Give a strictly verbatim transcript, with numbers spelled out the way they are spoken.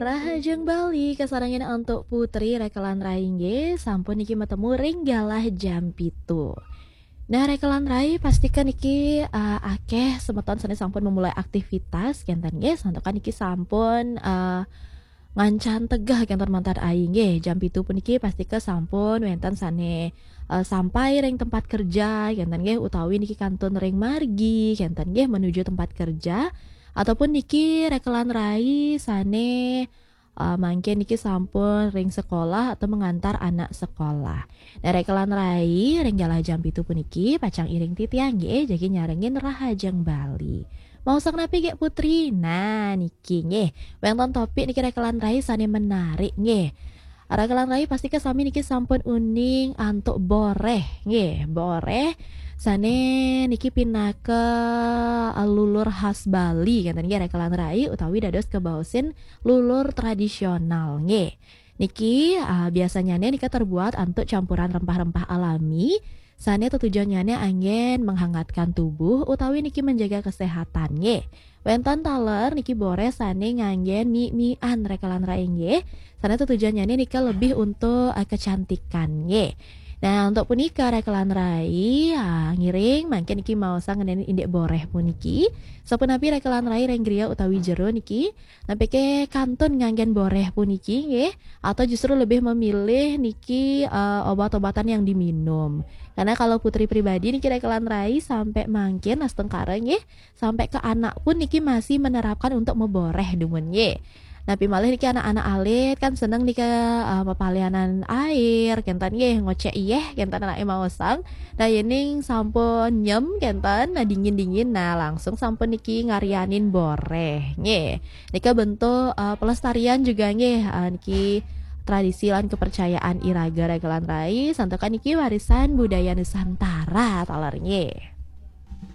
Rahajeng Bali kasarengin antuk Putri rekelan rai nggih, sampun niki matemu ring galah jam pitu. Nah, rekelan rai, pastika niki, eh, akeh semeton sane sampun memulai aktivitas kenten nggih, santukan niki sampun, eh, ngancan tegeh kenten mantar ai nggih. Jam pitu puniki pastika sampun wenten sane, eh, sampai ring tempat kerja kenten nggih, utawi niki kantun ring margi kenten nggih menuju tempat kerja, ataupun niki rekelan rai sane, eh, mangkin niki sampun ring sekolah atau mengantar anak sekolah. Nah, rekelan rai ring galah jam pitu puniki pacang iring titiang nggih, jagi nyarengin Rahajeng Bali. Maosang napi, Gek Putri? Nah, niki nggih. Wenten topik niki rekelan rai sane menarik nggih. Rekelan rai pastika sami niki sampun uning antuk boreh nggih. Boreh sane niki pinaka, eh, lulur khas Bali kenten nggih rekelan rai, utawi dados kebaosin lulur tradisional nggih. Niki, ah, biasanyane nika terbuat antuk campuran rempah-rempah alami sane tetujonnyane anggen menghangatkan tubuh utawi niki menjaga kesehatan nggih. Wenten taler niki boreh sane nganggen mi-mian rekelan rai nggih. Sane tetujonnyane nika lebih untuk, eh, kecantikan nggih. Nah, untuk punika rekelan rai, ah, ngiring mangkin niki maosang ngeninin indik boreh puniki. Sapunapi rekelan rai ring griya utawi jero niki, nampike kantun nganggen boreh puniki nggih, atau justru lebih memilih niki, eh, obat-obatan yang diminum? Karena kalau Putri pribadi niki rekelan rai sampai mangkin astungkara nggih, sampai ke anak pun niki masih menerapkan untuk meboreh dumun nggih. Napi malih niki anak-anak alit kan seneng nika, eh, mapalianan air kenten nggih, ngocek iyeh kenten anake maosang. Nah, yening sampun nyem kenten, nah, dingin-dingin, nah, langsung sampun niki ngaryanin boreh nggih. Nika bentuk, eh, pelestarian juga nggih, eh, niki tradisi lan kepercayaan iraga rekelan rai, santukan niki warisan budaya Nusantara taler nggih.